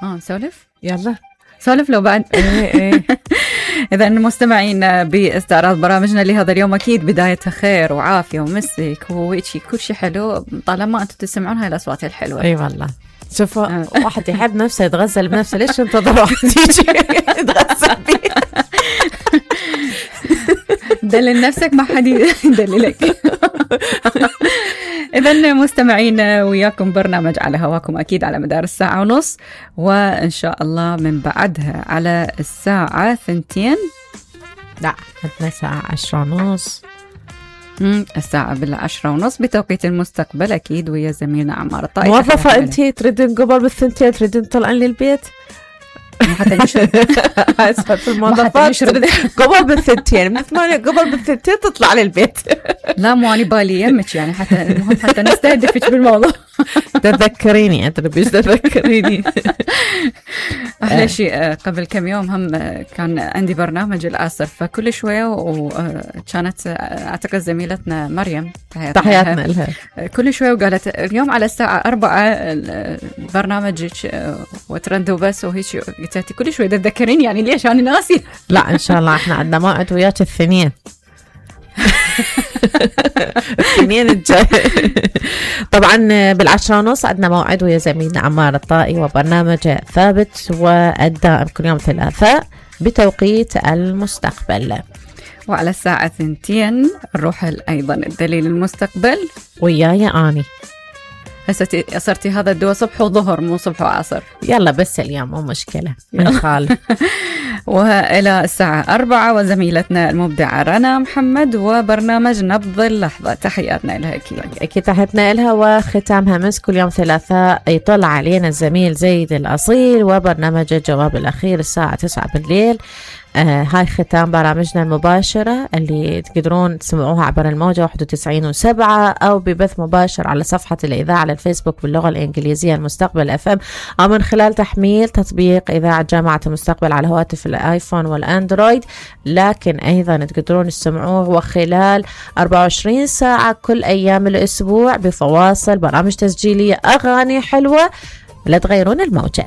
نسولف يلا سولف لو بعد. ايه إذا مستمعين باستعراض برامجنا لهذا اليوم أكيد بدايتها خير وعافية ومسك وهيك كل شيء حلو طالما أنتم تسمعون هاي الأصوات الحلوة. اي والله شوفوا واحد يحب نفسه يتغزل بنفسه، ليش انتظر واحد يجي يتغزل بيه؟ دلل نفسك ما حد يدللك. إذن مستمعين وياكم برنامج على هواكم أكيد على مدار الساعة ونص، وإن شاء الله من بعدها على الساعة 2. لا عندنا ساعة 10:30. الساعة 10:30 بتوقيت المستقبل أكيد، ويا زميلنا عمار الطائي. موظفة أنتي تريدين قبل ب2 تريدين تطلعين للبيت؟ حتى نشرد في الموظفات قبل ب2 من 8 قبل ب2 تطلع للبيت. لا مو أنا بالي يمك يعني حتى المهم حتى نستهدفك بالموضوع. تذكريني أنت بيش تذكريني. أحلى شيء قبل كم يوم هم كان عندي برنامج العصر، فكل شوية وكانت أعتقد زميلتنا مريم تحياتنا لها كل شوية وقالت اليوم على الساعة 4 برنامجك وترند وبس وهيك. قلت كل شوي تذكرين يعني ليش أنا ناسي؟ لا إن شاء الله إحنا عندنا موعد وياك الثنين. الثنين الجاي طبعا بال10:30 عندنا موعد ويا زميلنا عمار الطائي وبرنامج ثابت والدائم كل يوم ثلاثاء بتوقيت المستقبل. وعلى الساعة 2 نروح أيضا الدليل المستقبل وياي أني. هسه صرتي هذا الدواء صبح وظهر مو صبح وعصر. يلا بس اليوم مو مشكلة نخالف. وإلى الساعة 4 وزميلتنا المبدعة رنا محمد وبرنامج نبض اللحظة. تحياتنا لها أكيد تحياتنا لها. وختامها مس كل يوم ثلاثاء يطلع علينا الزميل زيد الأصيل وبرنامج الجواب الأخير الساعة 9 بالليل. هاي ختام برامجنا المباشرة اللي تقدرون تسمعوها عبر الموجة 91.7 أو ببث مباشر على صفحة الإذاعة على الفيسبوك باللغة الإنجليزية المستقبل FM، أو من خلال تحميل تطبيق إذاعة جامعة المستقبل على هواتف الآيفون والأندرويد. لكن أيضا تقدرون تسمعوه وخلال 24 ساعة كل أيام الأسبوع بفواصل برامج تسجيلية أغاني حلوة. لا تغيرون الموجة.